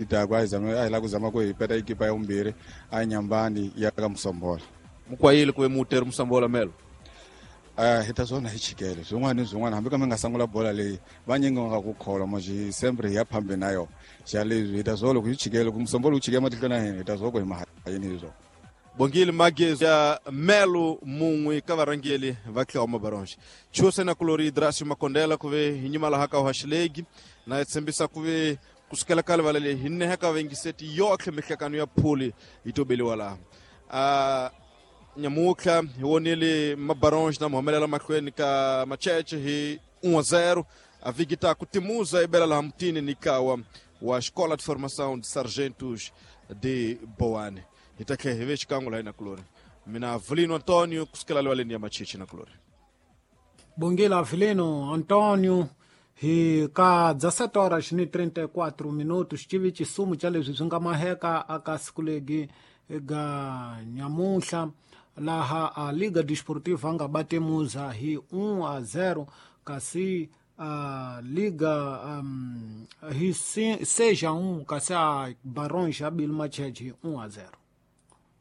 Taku a hi zama a hi lava ku zama ku hi peta ekipa ya vumbirhi a nyambani ya ka Musombola. Mukwayile ku ve muteri Musombola melo. Hi ta swona hi chikele swin'wana ni swin'wana, hambi ka mi nga sangula bola leyi vanyingi va nga ku kholwa moxi sempre hi ya phambeni na yona. Xa leswi hi ta swo loko hi chikele ku Musombola wu chike matihlweni ya hina, hi ta swo ku hi mahayini hi swona. Bongile Magezi ya melo mun'we ka varhangeli va Tlhoma Baronge. Chuse na kulori Drasio Makondela ku ve hi nyima laha ka Uhashilegi na hi tshembisa ku ve kusukela ka livala leyi hi neha ka vengiseti yotlhe mihlekano ya phuli yi tobeliwa laha. Nyamutlha hi vonile Mabaronge na muhumelela mahlweni ka Macheche hi 1-0. A vhiki ta ku timuza i bela laha mutini ni kawa wa Escola de Formação de Sargentos de Boane. Hi ta tlhela hi ve xikan'we laha na kulori. Mina Avelino Antonio kusukela livaleni ya Macheche na kulori. Bongile Avelino Antonio. Hi ka 17 horas ni 34 minutos xivi xisumu xa leswi swi nga maheka aka siku legi ga nyamuhla laha a Liga Desportiva nga batemuza hi 1-0 kasi a Liga hi 6-1 kasi a Barões abile Macheche hi 1-0.